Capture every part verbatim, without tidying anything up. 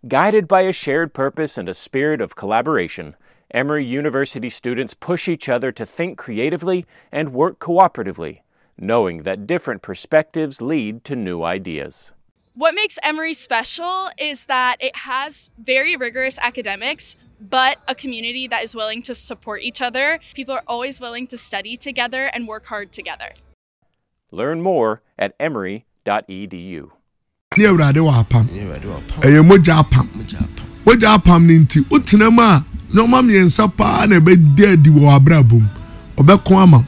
Guided by a shared purpose and a spirit of collaboration, Emory University students push each other to think creatively and work cooperatively, knowing that different perspectives lead to new ideas. What makes Emory special is that it has very rigorous academics, but a community that is willing to support each other. People are always willing to study together and work hard together. Learn more at emory dot e d u. Ne Awurade wɔ apam. Ɛyɛ mogya apam. Mogya apam ne nti, wotena mu a, nneɛma mmiɛnsa paa na ɛbɛdi adi wɔ abrabɔ mu. Ɔbɛko ama wo.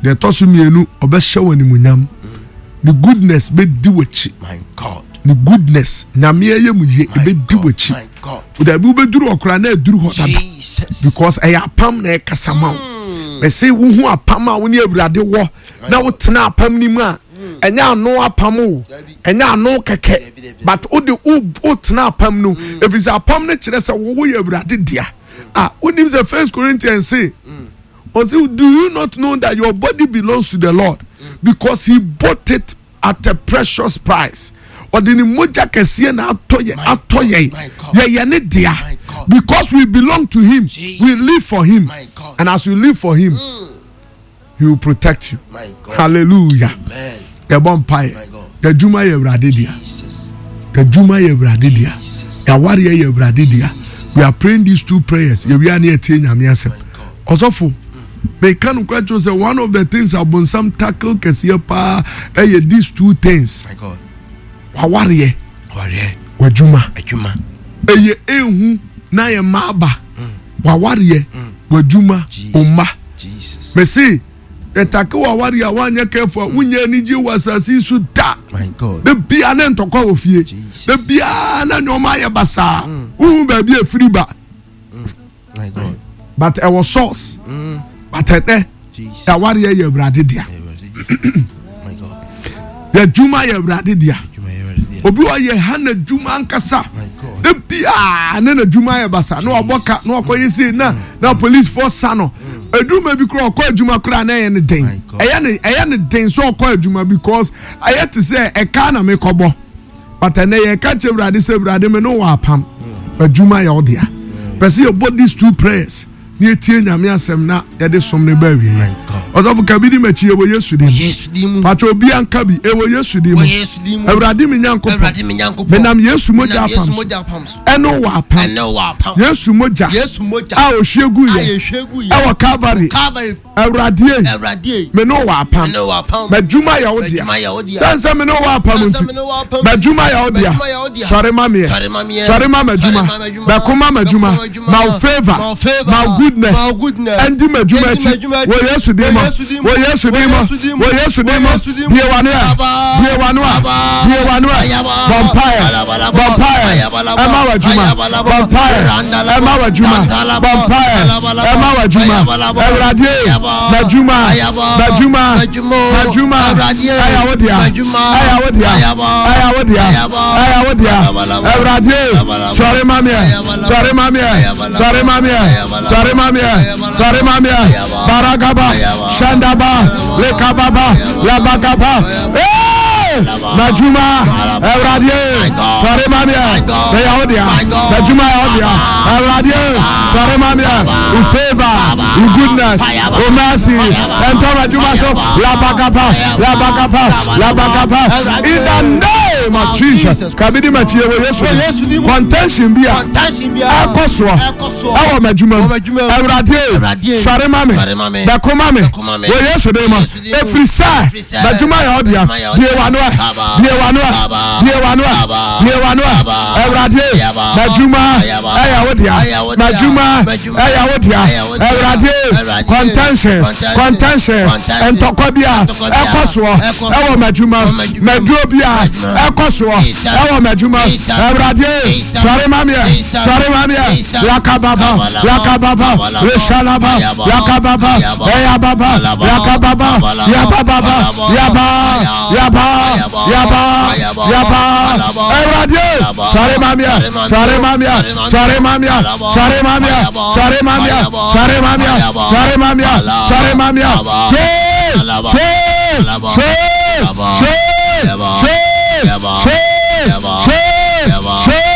Deɛ ɛtɔ so mmienu, ɔbɛhyɛ wo animuonyam. Ne goodness bɛdi w'akyi. My God. Ne goodness, Nyame ɛyɛ mu yie, My ɛbɛdi God, w'akyi. my God. Dabi wobɛduru hɔ koraa na ɛduru hɔ dada. Jesus. Because ɛyɛ apam na ɛkasa ma wo. Mɛsɛ wohu apam a wo ne Awurade wɔ na wotena apam no mu a, ɛnyɛ ano apam o, ɛnyɛ ano kɛkɛ, but wode wo wotena apam no, ɛfiri sɛ apam no kyerɛ sɛ wo woyɛ Awurade dea. Ah, wonim sɛ First Corinthians say, ɔse, do you not know that your body belongs to the Lord because he bought it at a precious price? Ɔde ne mogya kɛseɛ na atɔ yɛ, My atɔ God, yɛn. my God. Yɛyɛ ne dea. My God. Because we belong to him, Jesus. we live for him. My God. And as we live for him, Mm. he will protect you. My God. Hallelujah. Amen. Yɛbɔ mpaeɛ. My God. Yɛdwuma yɛ Awurade dea. Jesus. Yɛdwuma yɛ Awurade dea. Jesus. Yɛawareɛ yɛ Awurade dea. Jesus. We are praying these two prayers. Yɛwia ne yɛtie Nyame asɛm. My God. Ɔsɔfo, meka no kora kyerɛ sɛ one of the things abonsam tackle kɛseɛ paa ɛyɛ these two things. My God. Wawareɛ. Wareɛ. Wadwuma. Adwuma. Ɛyɛ ehu na yɛ mma aba. Mm. Wawareɛ. Mm. Wadwuma. Jesus. Ɔmma. Jesus. Mesi, yɛtake wawareɛ a woanyɛ careful a wonya anigye wɔ asase yi so da. My God. Da bia ne ntɔkwa wɔ fie. Jesus. Da bia na nneɛma ayɛ basaa. Mm. Wohu baabi a efiri ba. Mm. My God. But ɛwɔ source. Mm. But ɛnɛ, Jesus. yawareɛ yɛ Awurade dea. My God. Yɛdwuma yɛ Awurade dea. Adwuma yɛ Awurade dea. Obi wɔ yɛ ha n'adwuma ankasa. My God. Da bia ne n'adwuma yɛ basa. Na wabɔ ka, na wakɔ yɛ sei, na, na police force sa no. Adwuma bi koraa, ɔkɔ adwuma koraa na ɛyɛ ne den. My God. Ɛyɛ ne, ɛyɛ ne den sɛ ɔkɔ adwuma because ɛyɛ te sɛ ɛka na mekɔbɔ. But ɛnɛ yɛka kyerɛ Awurade sɛ Awurade me ne wɔ apam. Adwuma yɛ wo dea. Pɛ sɛ yɛbɔ these two prayers. Ni etie Nyame asɛm na yɛde som ne ba awie. My God. Ɔsɔfo ka bi di m'akyi, ɛwɔ Yesu din mu. Yesu din mu. Patro obi anka bi, ɛwɔ Yesu din mu. Wɔ Yesu din mu. Awurade me Nyankopɔn. Awurade me Nyankopɔn. Menam Yesu mogya Menam Yesu apam so. mogya apam so. Ɛne wɔ apam. Ɛne wɔ apam. Yesu mogya. Yesu mogya. A ohwie gu A yɛ. ehwie gu yɛ. Ɛwɔ Calvary. Calvary. Awurade ei. Awurade ei. Me ne wɔ apam. Me ne wɔ apam. M'adwuma yɛ wo dea. M'adwuma yɛ wo dea. Sɛn sɛ me ne wɔ apam Sɛn sɛ nti. me ne wɔ apam nti. M'adwuma yɛ wo dea. M'adwuma yɛ wo dea. Sɔre ma meɛ. Sɔre ma meɛ. Sɔre ma m'adwuma. Sɔre ma m'adwuma. Bɛko ma m'adwuma. Bɛko ma m'adwuma. Ma wo favor. Ma wo favor. Ma wo goodness. Ma wo goodness. Ɛndi m'adwuma Ɛndi akyi. m'adwuma akyi. Wɔ Yesu din mu. Wɔ Yesu din mu. Wɔ Yesu din mu. Wɔ Yesu din mu. Wɔ Yesu din mu. Wɔ Yesu din mu. Bue w'ano ɛ. Aba. Bue w'ano ɛ. Aba. Bue w'ano ɛ. Ayaba. Bɔ mpaeɛ. Alabalaba. Bɔ mpaeɛ. Ayabalaba. Ɛma w'adwuma. Ayabalaba. Bɔ mpaeɛ. Randalaba. Ɛma w'adwuma. Tantalaba. Bɔ mpaeɛ. Alabalaba. Ɛma w'adwuma. Ayabalaba. Awurade. Ayaba. M'adwuma. Ayaba. M'adwuma. M'adwuma. M'adwuma. Awurade. Ɛyɛ wo dea. M'adwuma. Ɛyɛ wo dea. Ayaba. Ɛyɛ wo dea. Ayaba. Ɛyɛ wo dea. Ayabalaba. Awurade. Ayabalaba. Sɔre ma meɛ. Ayabalaba. Sɔre ma meɛ. Ayabalaba. Sɔre ma meɛ. Ayabalaba. Sɔre ma meɛ. Ayabalaba. Sɔre ma meɛ. Ayaba. Baragaba. Ayaba. Shandaba. Ayaba. Lekababa. Ayaba. Labagaba. Ayaba. Hey! M'adwuma. Awurade. My God. Sɔre ma meɛ. My God. Ɛyɛ wo dea. My God. M'adwuma yɛ wo dea. Awurade. Sɔre ma meɛ. Wo favor. Wo goodness. Wo mercy. Ɛntɔ m'adwuma so. Labagaba. Labagaba. Labagaba. In the name of Jesus. Kabidi m'akyi ɛwɔ Yesu din mu. Contention bi a Contention bi a ɛkɔ soɔ ɛkɔ soɔ ɛwɔ m'adwuma mu. Wɔ m'adwuma mu. Awurade. Awurade. Sɔre ma me. Sɔre ma me. Bɛko ma me. Bɛko ma me. Wɔ Yesu din mu. Yesu din mu. Ɛfiri sɛ Ɛfiri sɛ m'adwuma yɛ wo dea. m'adwuma yɛ wo Bue dea. w'ano ɛ. Aba. Bue w'ano ɛ. Aba. Bue w'ano ɛ. Aba. Bue w'ano ɛ. Aba. Awurade. Ayaba. M'adwuma Ayaba. ɛyɛ wo dea. Ɛyɛ wo dea. M'adwuma M'adwuma ɛyɛ wo dea. ɛyɛ wo dea. Awurade. Awurade. Contention. Contention. Contention. Contention. Ntɔkwa bi a Ntɔkwa bi a ɛkɔ soɔ ɛkɔ soɔ. ɛwɔ m'adwuma Wɔ m'adwuma mu. M'aduro bi a M'adwuma. ɛkɔ soɔ Jesus. ɛwɔ m'adwuma. Jesus. Awurade. Jesus. Sɔre ma meɛ. Jesus. Sɔre ma meɛ. Jesus. Lakababa. Abalaba. Lakababa. Abalaba. Reshalaba. Ayaba. Lakababa. Ayaba. Eyababa. Alaba. Lakababa. Abalaba. Yabababa. Alaba. Yaba. Aya. Yaba. Ayaba. Yaba. Ayaba. Yaba. Alaba. Awurade. Alaba. Sɔre ma meɛ. Sɔre ma meɛ. Sɔre ma meɛ. Alaba. Sɔre ma meɛ. Ayaba. Sɔre ma meɛ. Ayaba. Sɔre ma meɛ. Ayaba. Sɔre ma meɛ. Alaba. Sɔre ma meɛ. Alaba. Twe. Alaba. Twe. Alaba. Twe. Alaba. Twe. Ayaba. Twe. Ayaba. Twe.